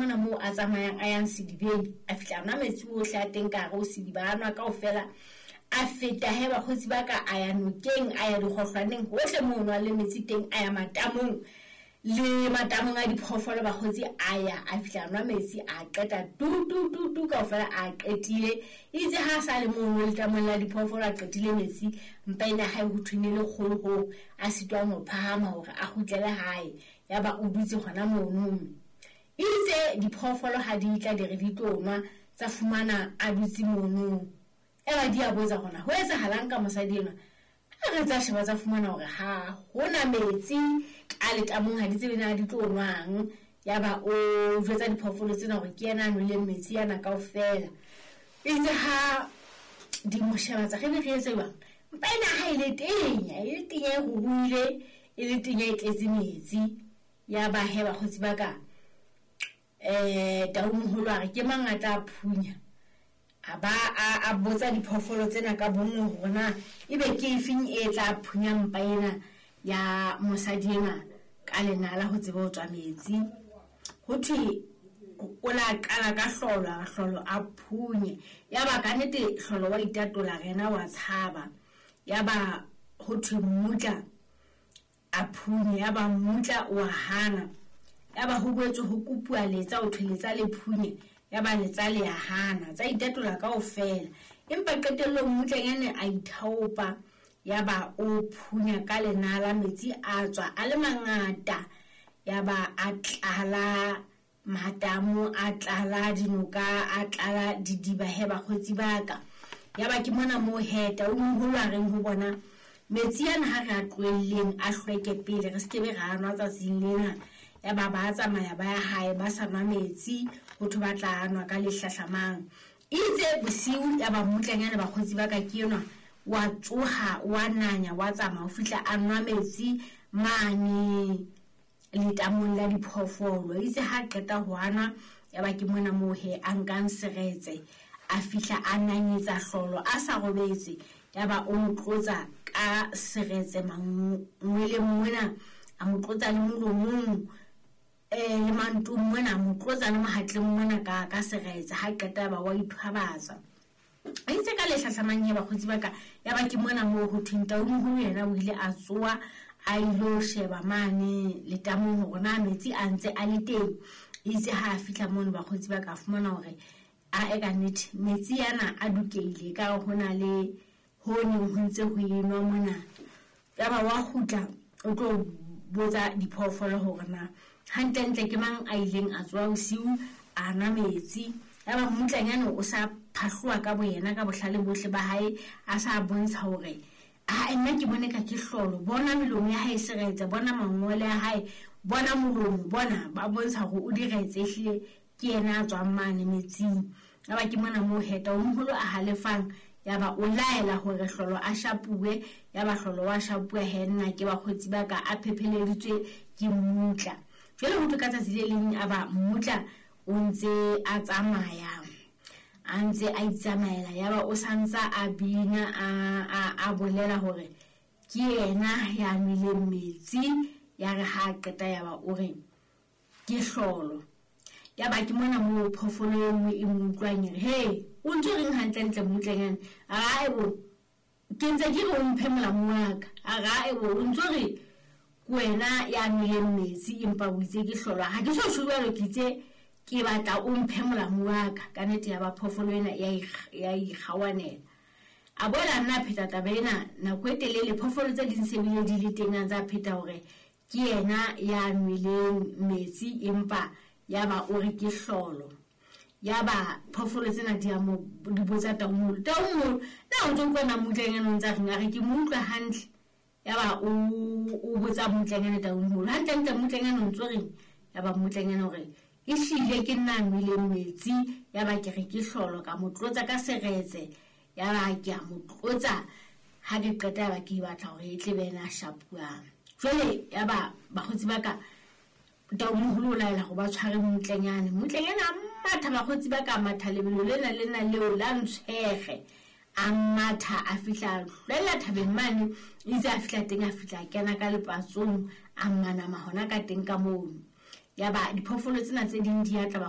mona moo a tsamayang a yang sedibeng, a fihla a nwa metsi ohle a teng ka hare ho sediba, a nwa kaofela. A feta he bakgotsi ba ka, a ya nokeng, a ya dikgohlwaneng, hohle moo nwa le metsi teng, a ya matamong le matamong a diphoofolo bakgotsi, a ya a fihla a nwa metsi, a qeta tu tu tu tu kaofela, a qetile. Itse ha a sa le mono letamong la diphoofolo a qetile metsi, mpa ena hae ho thwene le kgolo hoo a sitwang ho phahama hore a kgutlele hae. Yaba o dutse hona mono. Itse diphoofolo ha di tla di re di tlo nwa, tsa fumana a dutse mono. Eba di a botsa hona ho etsahalang ka mosadi enwa. Ha re tsa sheba tsa fumana hore ha hona metsi ka letamong, ha di tsebe na di tlo nwang. Yaba o jwetsa diphoofolo tsena hore ke yena a nweleng metsi ana kaofela. Itse ha di mo sheba tsa re be re etse jwang, mpa ena ha e le tenya, e le tenya e ruruhile, e le tenya e tletse metsi. Yaba he bakgotsi ba ka, tau moholo a re ke mang a tla phunya. A ba a botsa diphoofolo tsena ka bonngwe hore na ebe ke efeng e tla phunya mpa ena ya mosadi ena ka lenala ho tsebe ho tswa metsi. Ho thwe o la qala ka hlolo, a hlolo a phunye. Yaba ka nnete hlolo wa itatola, rena wa tshaba. Yaba ho thwe mmutla a phunye, yaba mmutla wa hana. Yaba ho boetse ho kopuwa letsa, ho thwe letsa le phunye, yaba letsa le ya hana, tsa itatola kaofela. Empa qetellong mmutlanyane a ithaopa, yaba o phunya ka lenala, metsi a tswa a le mangata, yaba a tlala matamo, a tlala dinoka, a tlala didiba he bakgotsi ba ka. Yaba ke mona moo he tau moholo a reng ho bona, metsi ana ha re a tlohelleng a hlweke pele, re se ke be ra nwa tsatsing lena. Yaba ba tsamaya ba ya hae ba sa nwa metsi, ho thwe ba tla nwa ka le hlahlamang. Itse bosiu yaba mmutlanyane bakgotsi ba ka ke enwa wa tsoha, wa nanya, wa tsamaya ho fihla a nwa metsi mane letamong la diphoofolo. Itse ha qeta ho anwa, yaba ke mona moo he a nkang seretse, a fihla a nanyetsa hlolo a sa robetse. Yaba o mo tlotsa ka seretse mangweleng mona, a mo tlotsa le molomong, le mantong mona, a mo tlotsa le mohatleng mona ka seretse. Ha qeta ba wa ithwabatsa. Itse ka le hlahlamang he bakgotsi ba ka, yaba ke mona moo ho thweng tau moholo yena o ile a tsoha a ilo sheba mane letamong hore na metsi a ntse a le teng. Itse ha a fihla mono bakgotsi ba ka, fumana hore a e ka nnete metsi ana a dukeile, ka ho na le ho neng ho ntse ho enwa mona. Yaba wa kgutla o tlo botsa diphoofolo hore na hantlentle ke mang a ileng a tsoha bosiu a nwa metsi. Yaba mmutlanyane o sa phahloha ka boyena ka bohlale bohle ba hae, a sa bontsha hore a nna ke bone ka ke hlolo, bona melomo ya hae e seretse, bona mangole a hae, bona molomo, bona ba bontsha hore o diretse, ehlile ke yena a tswang mane metsing. Yaba ke mona moo he tau moholo a halefang, yaba o laela hore hlolo a shapuwe. Yaba hlolo wa shapuwa he nna ke bakgotsi ba ka a phepheleditswe ke mmutla. Jwale ho thwe ka tsatsi le leng aba mmutla o ntse a tsamaya, a ntse a itsamaela, yaba o santsa a bina, a bolela hore ke yena ya nweleng metsi. Ya re ha a qeta yaba o re ke hlolo. Yaba ke mona moo phoofolo e nngwe e mo utlwang e re, he, o ntso reng hantlentle mmutlanyane? A re, ae bo, ke ntse ke re o mphe molamu wa ka. A re, ae bo, o ntso re ke wena ya nweleng metsi empa o itse ke hlolo. Ha ke so tjho jwalo, ke itse ke batla o mphe molamu wa ka. Ka nnete yaba phoofolo ena ya ikgawanela. A boela nna a pheta taba ena nako e telele, phoofolo tse ding se bile di le teng, a ntse a pheta hore ke yena ya nweleng metsi empa yaba o re ke hlolo. Yaba phoofolo tsena di a mo di botsa tau moholo, tau moholo, na o ntso utlwa na mmutlanyane o ntse a reng? A re ke mo utlwa hantle. Yaba o botsa mmutlanyane tau moholo, hantlentle mmutlanyane o ntso reng? Yaba mmutlanyane o re, ehlile ke nna a nweleng metsi, yaba ke re ke hlolo, ka mo tlotsa ka seretse, yaba ke a mo tlotsa. Ha ke qeta yaba ke batla hore e tle be yena a shapuwang. Jwale yaba bakgotsi ba ka, tau moholo o laela hore ba tshware mmutlanyane. Mmutlanyane a matha, bakgotsi ba ka, matha lebelo lena lena leo la ntshwege. A matha a fihla hlwella thabeng mane, itse a fihla teng, a fihla a kena ka lepatsong, a manama hona ka teng ka mono. Yaba diphoofolo tsena tse ding di a tla